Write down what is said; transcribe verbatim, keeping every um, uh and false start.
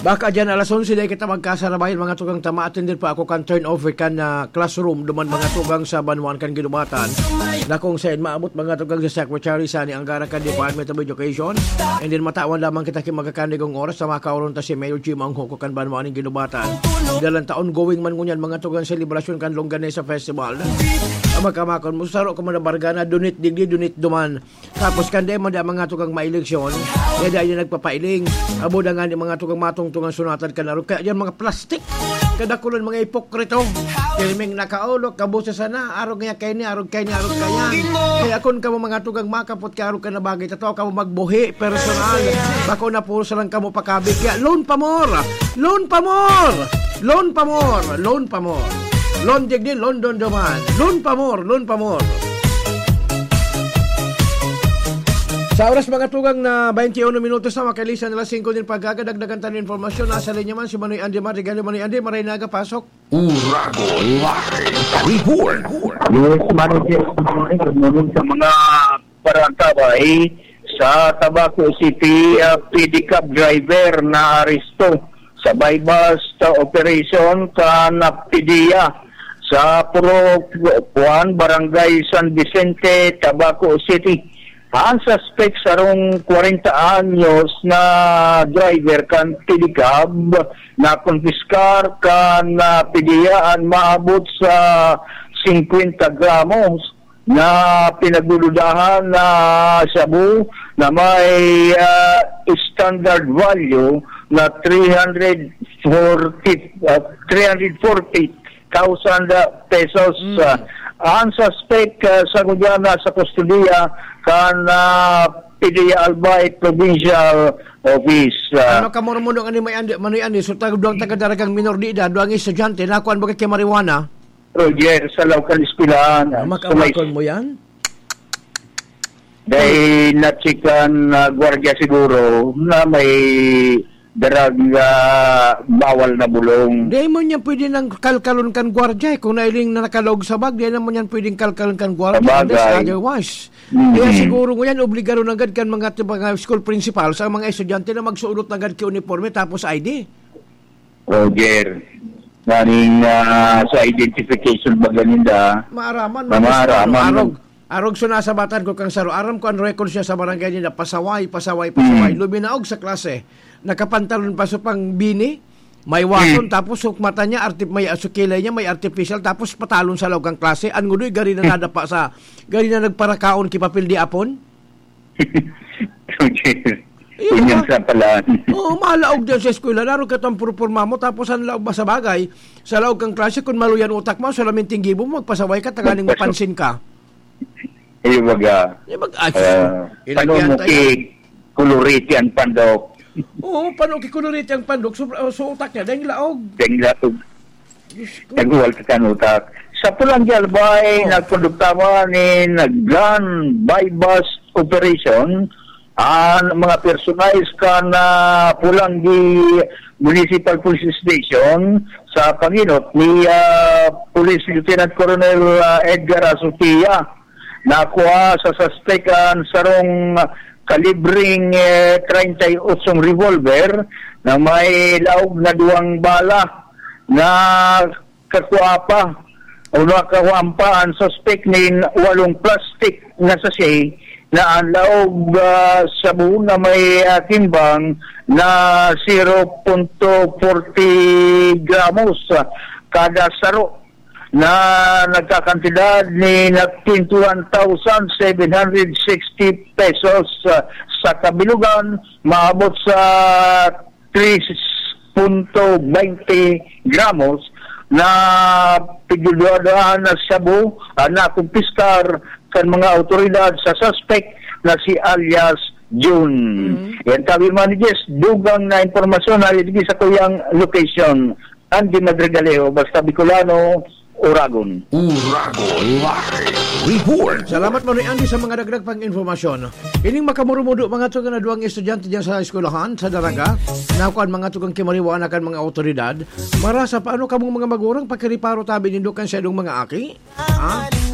Baka dyan alas onse na kita magkasarabayan, mga tugang, tama, atender pa ako kan turnover kan, ah, classroom duman, mga tugang, sa banwaan kan Guinobatan, na kung saen maabot, mga tugang, sa Secretary Sani Angara kan Department of Education. And then matawan lamang kita ki magakanigong oras sa makaoron ta si Mayor Jim ang huko kan banwaan nin Guinobatan. Dalan ta ongoing man ngunyan, mga tugang, selebrasyon kan Longganisa Festival. Ang magkamakon mo, saro ka man na bargana, dunit digdi, dunit duman. Tapos kan dai man da mga tugang maeleksyon, kaya dai na nagpapailing. Abo da nga ni mga tugang matungtungan sunatan kan arog. Kaya yan mga plastik. Kadakulan mga ipokrito. Pirming nakaolok, kabusa sana, arog nga kay ni, arog kay ni, arog kaya. Kaya kun kamo mga tugang makapot ka arog ka na bagay, tataw kamo magbuhi, personal. Bako na puro sa lang kamo pakabi. Kaya loan pa more! Loan pa more! Loan pa more! Loan pa more! Loan digdi, loan dondoman. Loan pa more! Loan pa more! Sa oras mga tugang na twenty-one minutos na, makalisan na alas singko nin pagkaga, dagdagan tayo ng impormasyon. Nasa linya man si Manoy Andy Madrigal. Manoy Andy, maray na aga, pasok. Uragon Live Report. Yes, Manoy, yes, Manoy, good morning sa mga barangay. Sa Tabaco City, ah, pedicab driver na aresto sa buy-bust operation kan PDEA sa Puro Juan, Barangay San Vicente, Tabaco City. Ang suspek, sarong kwarenta anyos na driver kan pedicab, na konpiskar kan, ah, PDEA an maabot sa singkwenta gramos na pinagdududahan na shabu na may, ah, standard value na three hundred forty, ah, three hundred forty thousand pesos. Mm. Ah, ang suspek, ah, sa gudyan nasa kustodiya kan, ah, PDEA Albay Provincial Office. Ah, Ano ka murmuno nga ni May Andi, Manoy Andi, so tag-, duwang taga-Daragang minor de edad, duwang estudyante, nakuan baga ki marijuana? Roger, sa laog kan eskwelahan. Ah, So, may makamakon mo yan? Dahil nachikan na gwardiya siguro na may darag, ah, bawal na bulong. Di mo niya pwede nang kalkalon kan gwardiya, eh, kung nailing na nakalaog sa bag, di naman yan pwedeng kalkalon kan gwardiya, Sabagay. unless otherwise. Mm. Kaya siguro ngunyan, obligado na agad kan mga, mga school principal sa mga estudyante na magsuot na agad ki uniforme tapos I D. Roger, naning, ah, sa identification ba ganinda? Maaraman, Na man, maaraman. arog. Arog, so nasabatan ko kang saro. Aram ko ang record siya sa barangay nila. Pasaway, pasaway, pasaway. Hmm. Luminaog sa klase. Nakapantalon pa sa pang bini. May wason, Hmm. tapos hukmata niya, artip-, may, sa kilay niya, may artificial, tapos patalon sa laog kang klase. Ang ngudoy, gari na Hmm. nadapa sa, gari na nagparakaon ki papel di apon. Roger, Iyo, Ganyan ma- sa pala. Oo, malaog diyan sa eskwela. Laro ka itong purpurma mo, tapos ang laog ba sa bagay, sa laog kang klase, kung maluyan utak mo, solamente gibo mo, magpasaway ka, tanganing Magpasaw- mapansin ka. Iyo, baga. Di ba? Ah, Ah, ilagyan paano mo tayo. ki-, kuluriti ang pandok? Oo, paano kikuluriti ang pandok? So, so utak niya, dahil laog. Dahil laog. Diyos ko. Naghuwal ka kan utak. Sa Pulang Albay, Oh. nagkondukta man nin gun buy-bust operation ang mga personalis kan, ah, Polangui Municipal Police Station sa pangenot ni, ah, Police Lieutenant Colonel, ah, Edgar Asotia. Nakua sa suspek an sarong kalibreng, eh, treinta y ocho revolver na may laog na duwang bala na kakua pa o nakakuhaan pa ang suspek nin walong plastic na sachet na ang laog, ah, shabu na may, ah, timbang na zero punto forty gramos kada saro. na nagkakantidad ni na twenty-one thousand seven hundred sixty pesos, ah, sa kabilugan, maabot sa three punto twenty gramos na pigduduha-duhaan na shabu ang nakumpiskar kan mga awtoridad sa suspek na si alias Jun. Mm. Yan, sabi man ni Jess, dugang na impormasyon na sa kuyang location. Andy Madrigaleo, basta Bicolano, Uragon. Uragon Live Report. Salamat, Manoy Andy, sa mga dagdag pang impormasyon. Ining makamurumudo, mga tugang na duwang estudyante diyan sa eskwelahan, sa Daraga, nakuan mga tugang kimariwana kan mga awtoridad. Marasa, paano kamong mga magurang pakiriparo tabi nindo kan sa inyong mga aki? Ha?